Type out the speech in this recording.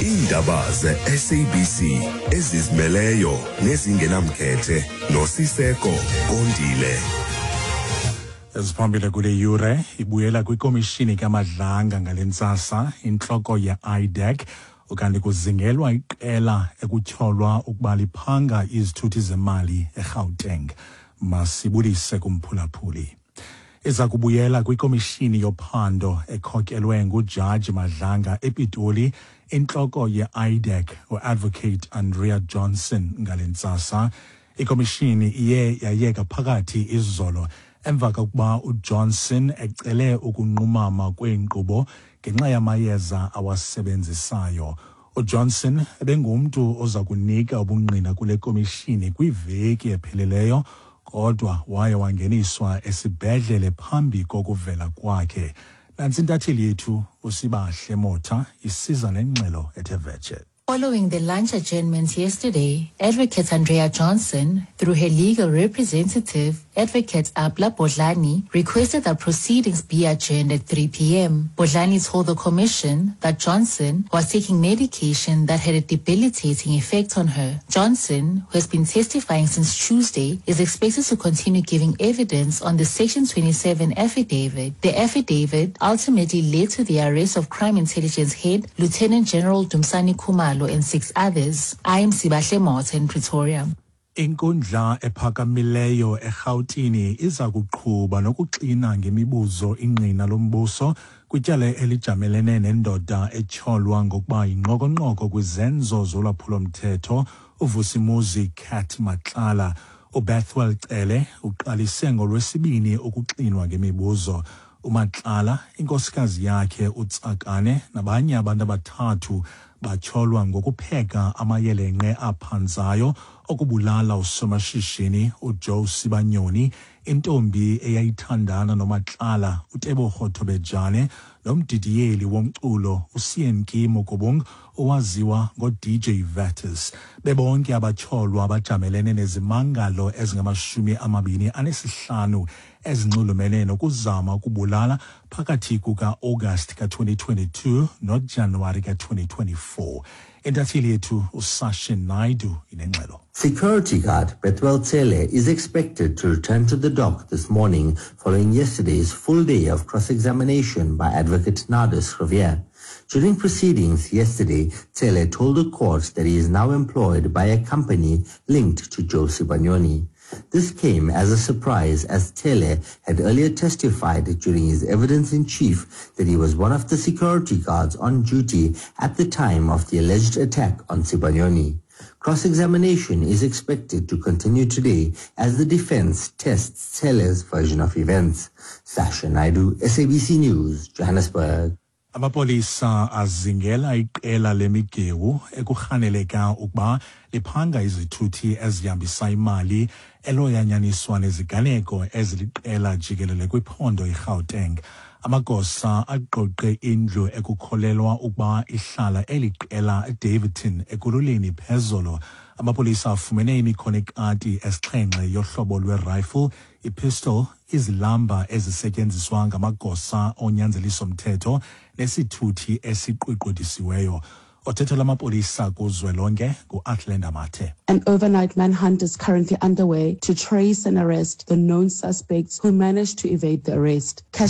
Iindaba ze-SABC ezizimeleyo nezingenamkhethe noSiseko Kondile. Eziphambili kule yure, ibuyela kwikomishini kaMadlanga ngale ntsasa intloko ye-IDAC, ukanti kuzingelwa iqela ekutyholwa ukuba liphanga izithuthi zemali eGauteng. Masibulise kumphulaphuli. Iza kubuyela kwikomishini yophando ekhokelwe nguJaji Madlanga ePitoli intloko ye-IDAC uAdvocate Andrea Johnson ngale ntsasa. Ikomishini iye yayeka phakathi izolo emva kokuba uJohnson ecele ukunqumama kweenkqubo ngenxa yamayeza awasebenzisayo. UJohnson ebengumntu oza kunika ubungqina kule komishini kwiveki epheleleyo, kodwa waye wangeniswa esibhedlele phambi kokuvela kwakhe. Nantsi intatheli yethu uSibahle Motha isiza nengxelo ethe vetshe. Following the lunch adjournment yesterday, Advocate Andrea Johnson, through her legal representative, Advocate Abla Bodlani, requested that proceedings be adjourned at 3 p.m. Bodlani told the commission that Johnson was taking medication that had a debilitating effect on her. Johnson, who has been testifying since Tuesday, is expected to continue giving evidence on the Section 27 affidavit. The affidavit ultimately led to the arrest of Crime Intelligence Head Lieutenant General Dumsani Khumalo and six others. I am Sibahle Motha in Pretoria. Inkundla ephakamileyo eRhawutini iza kuqhuba nokuxina ngemibuzo ingqina lombuso kwityala elijamelene nendoda etyholwa ngokuba yinqokonqoko kwizenzo zolwaphulomthetho uVusimuzi Cat Matlala. UBethwell Cele uqalise ngoLwesibini ukuxinwa ngemibuzo. UMatlala, inkosikazi yakhe uTsakane nabanye abantu abathathu batyholwa ngokupheka amayelenqe aphanzayo okubulala usomashishini uJoe Sibanyoni, intombi eyayithandana noMatlala uTebogo Thobejane, nomdidiyeli womculo uSeun-Ki Mokubung owaziwa ngo-DJ Vetus. Bebonke abatyholwa bajamelene nezimangalo ezingama-25 ezinxulumene nokuzama ukubulala phakathi kuka-August ka-2022 noJanuwari ka-2024. Intatheli yethu uSashin Naidu inengxelo. Security guard Bethwell Cele is expected to return to the dock this morning following yesterday's full day of cross-examination by Advocate Nardus Riviere. During proceedings yesterday, Cele told the court that he is now employed by a company linked to Joe Sibanyoni. This came as a surprise, as Cele had earlier testified during his evidence in chief that he was one of the security guards on duty at the time of the alleged attack on Sibanyoni. Cross-examination is expected to continue today as the defense tests Cele's version of events. Sasha Naidu, SABC News, Johannesburg. Amapolisa azingela iqela lemigewu ekurhaneleka ukuba liphanga izithuthi ezihambisa imali eloyanyaniswa neziganeko eziliqela jikelele kwiphondo iGauteng. Amagosa aqoqe indlu ekukholelwa ukuba ihlala eli qela eDaveyton Ekurhuleni phezolo. Amapolisa afumene imikhono ekati esixhenxe yohlobo lwe-rifle, ipistol, izilamba ezisetyenziswa ngamagosa onyanzeliso-mthetho nesithuthi esiqweqwedisiweyo. Othethela amapolisa kuzwelonke ngu-Athlenda Mathe. An overnight manhunt is currently underway to trace and arrest the known suspects who managed to evade the arrest. Cash